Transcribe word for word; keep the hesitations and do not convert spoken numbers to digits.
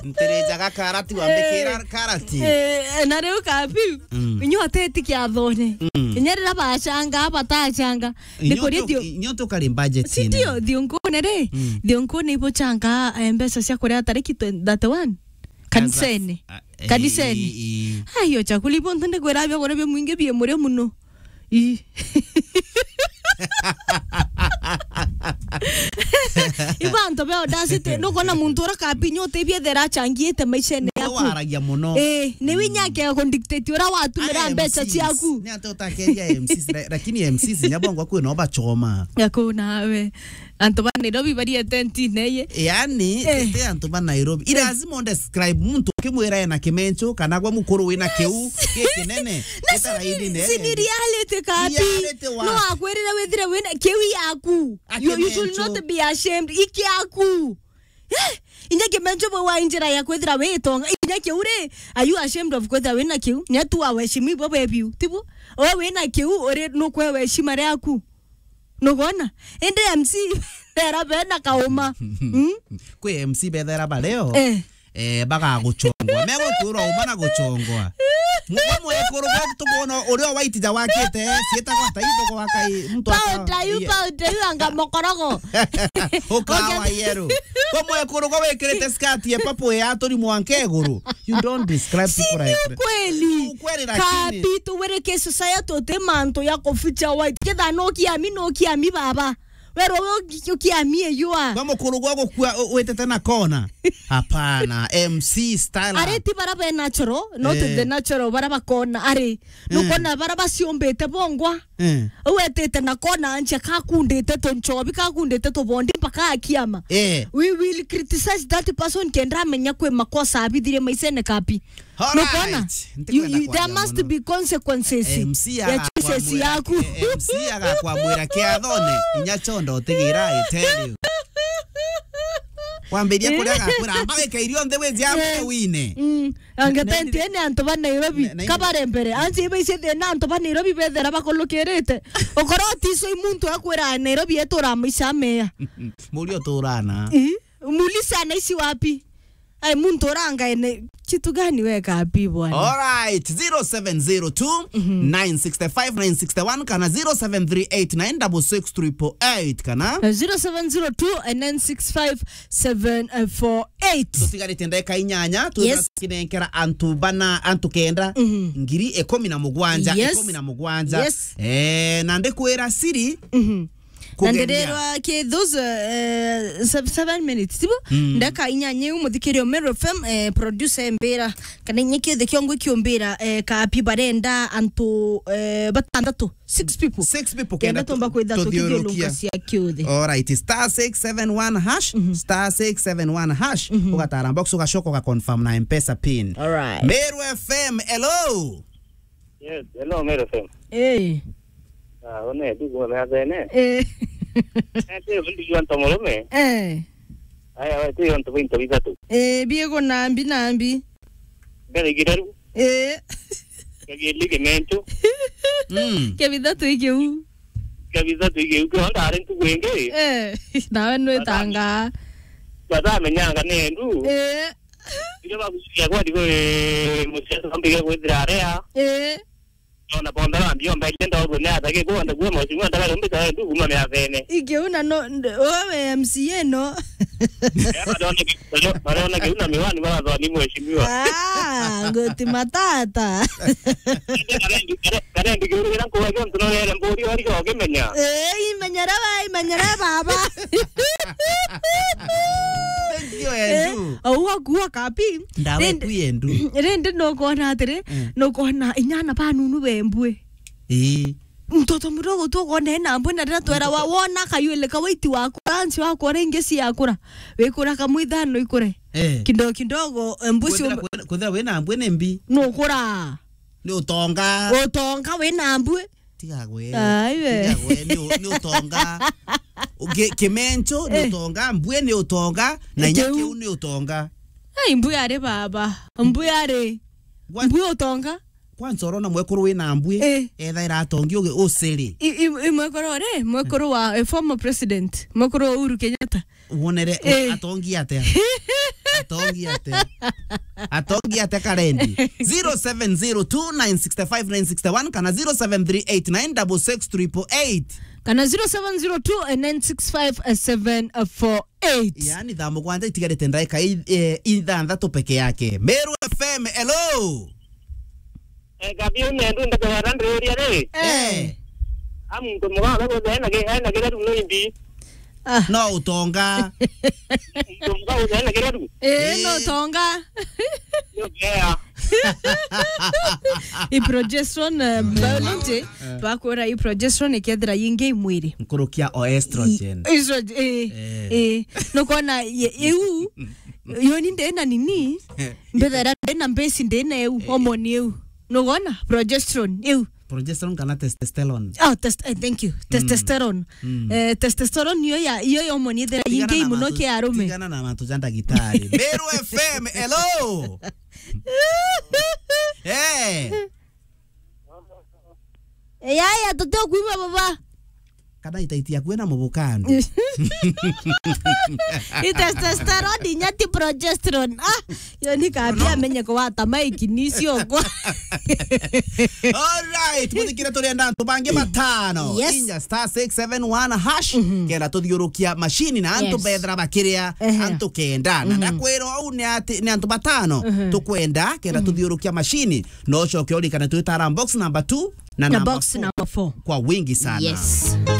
Ntirinjaga karati, wambikira karati. Eh, na riu kabi, mm, inyuoteti kiathone. Mm. Inya riria bacanga, batacanga. Inyuo Nikuria tu-, dio. Inyuo tukari budget. Si ine. Ndio, thionkune ri? Mm. Thionkune ibucanga, eh, mbeca cia kuria tariki twenty, thirty-one. Kanisene. As a, ah, eh, kanisene. Eh, eh. Ai, ocha kuli bo ntunde kwira bia kuria bia mwingi bia murio muno. Ii. Ibantu be audacity, nukona muntu ura kapi nyote biethera achangiite maishene yaku. Waragia muno. Eh, ni winya ke ku dictate ura watumira mbeca ciaku. Ni ate utakeria M Cs, la-, lakini M Cs nyabongo kwina obachoma. Yako nawe. Antu ba Nairobi bari atentine ye. Yani, eh, ti antu ba Nairobi. Eh. Lazima undescribe muntu ukimwira ena kimencho, kana gwa mukuru wina kiu, yes, gikinene. Na gitara si-, ini nene. Si ni reality kapi. Reality wa? No akwirire withire wina kiu yaku. You, you should not be ashamed. Iki yaku. Eh, inya kimencho bwe wa injira ya kwithira witonga. Inya kiu ri, are you ashamed of kwithira wina kiu? Nya tu aweshimi bo bebiu. Tibu? Owe wina kiu, uri nukwe weshima riaku. Nugona? Indi M C bethera bena kauma. Mm? Kwi M C bethera bareo. Eh. Eh, bagaguchongwa. Megukwirwa uma na guchongwa. Mwa mwekuru gwa tukwona uria waitija wakite, cietagwa ta itho gwa kai, mtu aka-, pauta yu, yeah, pauta yu anga mokorogo. Ukawa yero. Kwa mwekuru gwa wikirite skirt ya purple ya turi mwanka iguru. You don't describe people like that. Si ni ukweli. Ukweli lakini. Kapi tuwirike society uti mantu ya kuficha white. Ketha no kiami, no kiami baba. Wero we uki-, ukiami eyua. Kwa mukuru gwa gukua u-, witete na kona. Hapana, M C style. Ari ti bara be natural, not, eh, the natural, bara bakona. Ari, eh, nukona bara baciumbite bongwa. Eh. Wetete na kona anje kakundite tunchobi, kakundite tubondi mpaka akiama. Eh. We will criticize that person kenda amenya kwi makosa abithirie maisene kapi. All right. Nukona? Ntikwenda kwaria muno. You, you, there must be consequences ya choices yaku. M C agakwamwira, eh, M C agakwamwira kiathone, inya chondo utigira, I tell you. Wambiria kuria agakwira, "Amba wike irio nthi wiji amwe wine." Mm. Anga tenti ene antu ba Nairobi, ne-, ne-, kabare mbere. Ansi iba ici thina antu ba Nairobi bethera bakulukirite. Ukoro tiso i muntu akwira Nairobi etura maisha meya. Muri uturana. Ii. Muulize anaishi wapi? Ai, muntu uranga ene kitu gani weka api bwana? All right, zero seven zero two, nine six five, nine six one kana zero seven three eight nine six six triple eight kana na zero seven zero two nine six five seven four eight. Tutigarite ndagika inyanya, yes, tukinenkera antu bana, antu kenda, mhm, ngiri ikumi na mugwanja, yes, ikumi na mugwanja. Yes. Eh, na ndikwira siri, mhm. Na kugeria. Ndirerwa ki those, eh, sev-, seven minutes, tibo? Mm. Ndaka inyanya iu muthikirio Meru F M, eh, producer embira, kana inya kiothe kiongo kiumbira, eh, kapi barenda antu, eh, batandatu, six people. Six people kenda kenda tumba tu-, kwitha tuthiurukia. Tukithiurunka cia kiuthi. All right, star six seven one hash, mhm, star six seven one hash, mhm, ugatara box ugacoka uga confirm na M-Pesa pin. All right. Meru F M, hello. Yes, hello, Meru F M. Eh. Ah, one, ndi kuma Meathene. Eh. Eh, ti undi jwa nto murume. Eh. Aya, we, ti yo nto binto bithatu. Eh, biego nambi nambi. Mbere igireru. Eh. Kebili kimentu. Mm. Kebithatu ikiu. Kebithatu ikiu, kio ndari ntugu ingi. Eh, nawe nwitanga. Batamenyanga ni endu. Eh. Iria baguciria kwa ndigo, eh, muciari wambige kwithira aria. Eh. Ona bonda bambi omba igenda oguo ni atagi kwonda kuuma mheshimiwa ndagari umbita ndu kuuma Meathene. Ikiu na no, nd-, wewe M C A no. Eh, barona ki-, barona kiu na miwani barathoni mheshimiwa. Ah, ngoti matata. Karendi, kare-, karendi kiuru kira nkuwa kio ntu no rere mburi ori ko kimenya. Eh, imenyere we, imenyere baba. Thank you, Andrew. Eh, au akuwa kapi. Ndawe Rindi, kwi endu. Rindi nukona atiri, eh, nukona inyana banunu bembue. Ii. Mtoto mdogo tu ukona ena mbwe na rira twera wa-, wona kayuele kawaiti waku, ransi waku ora ingi ciakura. Wikura kamwe ithano ikure. Eh. Kidogo kidogo, eh, mbuci kwithira, um- kwithira wina mbwe ni mbi. Nukura. Ni utonga. Utonga wina mbwe. Tiga gwe. Ai we. Tiga gwe, ni u-, ni utonga. Uge-, kimencho ni, eh, utonga, mbue ni utonga, na inya kiu, kiu ni utonga. Ai, mbue ari baba. Mbue ari. Gwa-, mbue utonga. Kwanza urona mwekuru wina mbue, eh, ethaira atongi uge uciri. I, i, i mwekuru ri, mwekuru wa, eh, former president, mwekuru wa Uhuru Kenyatta. Wonere, eh, atongi atia? Atongi ate. Atongi ate karendi. Zero seven zero two nine six five nine six one kana zero seven three eight nine six six triple eight. Kana zero seven zero two nine six five seven four eight. Yani, thaa mugwanja itigarite ndaika i-, eh, ithanthatu peke yake. Meru F M, hello. Eh, kabi ume ndu ndakawara ndiria ri. Eh. Eh. A muntu muga ura guthe ena ki-, ena kireru no imbi. Ah. No utonga. Muntu muga guthe ena kireru. Eh, no utonga. Yo, yeah. I progesterone, eh, biology, bakwira i progesterone ikethira yingi i mwiri. Nkurukia o estrogen. I-, estrogen, eh, eh. Nukona ye-, iu, yo ni ndina nini, mbethera ndina mbesi ndina iu, hormone iu. Nugona? Progesterone, iu. Progesterone kana testosterone? Oh, test-, eh, thank you. Testosterone. Eh, testosterone iyo ya, iyo ya hormone ithira yingi muno ki arume. Tigana na mantu ja ndagitari. Meru F M, hello. Eh. Yaya, tuti ukuigua baba. Kana itaiti yaku ena mubuka andu. I testosterone, inya ti progesterone. Ah, yo ni kabi amenye kuwata maiki ni ciokwa. All right, muthikire, turienda antu bangi batano. Yes. Inya star six seven one hash, kenda tuthiurukia mashini na antu bethira bakiria, antu kenda. Na ndakwira uu ni ati, ni antu batano tukwenda kenda tuthiurukia mashini. No ucoke urikane twitara box number two na number four. Na box number four. Kwa wingi sana. Yes.